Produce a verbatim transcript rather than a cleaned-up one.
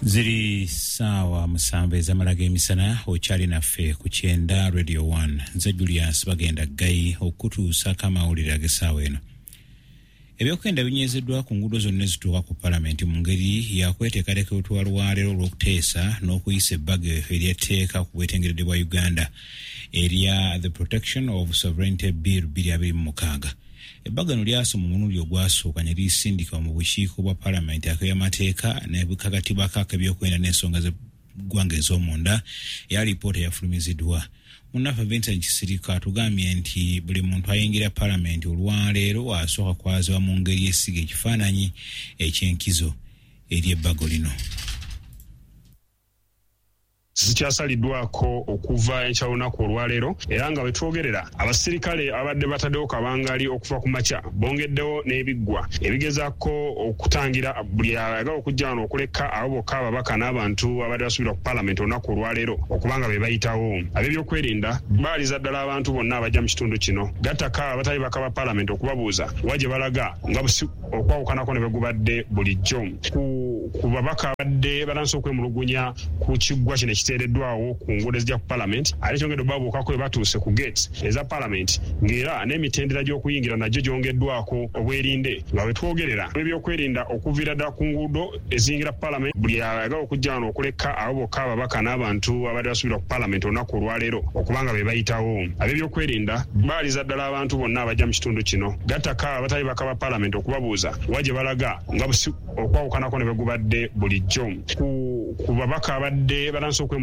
Ziri saawa musanvu ez'amala g'emisana. Okyali naffe ku kyenda Radio one. Nze Julius Bagenda Ggayi okutuusako amawulire ag'essaawa eno. Ebyokwenda binyezeddwa ku nguudo zonna ezituuka ku palamenti mu ngeri yakweteekateeka olutuula lwaleero olw'okuteesa n'okuyisa ebbago ery'etteeka ku bwetengeredde bwa Uganda erya The Protection of Sovereignty Bill bbiri abiri mu mukaaga. Ebbago lino lyasoma omulundi ogwasooka ne lisindikibwa mu bukiiko bwa palamenti ak'ebyamateeka ne kagattibwako ak'ebyokwenda n'ensonga z'eggwanga ez'omunda, era lipoota eyafulumiziddwa. Munnaffe Vincent Kisirika atugambye nti buli muntu ayingira palamenti olwaleero asooka kwazibwa mu ngeri esiga ekifaananyi eky'enkizo eri ebbago lino. Zikyasaliddwako okuva enkya lunaku olwaleero, era nga wetwogerera abasirikale abadde bataddewo kabangali okuva ku makya bongeddewo n'ebiggwa ebigezaako okutangira buli ayagala okujja wano, okuleka abo bokka ababaka n'abantu abadde basuubirwa ku paalamenti olunaku olwaleero okubanga be bayitawo. Ab'ebyokwerinda baaliza ddala abantu bonna abajja mu kitundu kino, gattako abatali baka ba paalamenti, okubabuuza wa gye balaga, nga okwawukanako ne bwe gubadde bulijjo ku babaka abadde batandise okwemulugunya ku kiggwa kino ekiteereddwawo ku nguudo ezijja ku paalamenti. Ate kyongedde obabuukako bwe batuuse ku gate eza paalamenti, ng'era n'emitendera gy'okuyingira nagyo gyongeddwako obwerinde, nga bwe twogerera ebyokwerinda okuviira ddala ku nguudo eziyingira paalamenti, buli ayagala okujja wano, okuleka abo bokka ababaka n'abantu abadde basuubirwa ku paalamenti olunaku olwaleero okubanga be bayitawo. Ab'ebyokwerinda baaliza ddala abantu bonna abajja mu kitundu kino, gattako abatali baka ba paalamenti, okubabuuza wa gye balaga, nga okwawukanako ne bwe gubadde bulijjo ku babaka abadde batandise.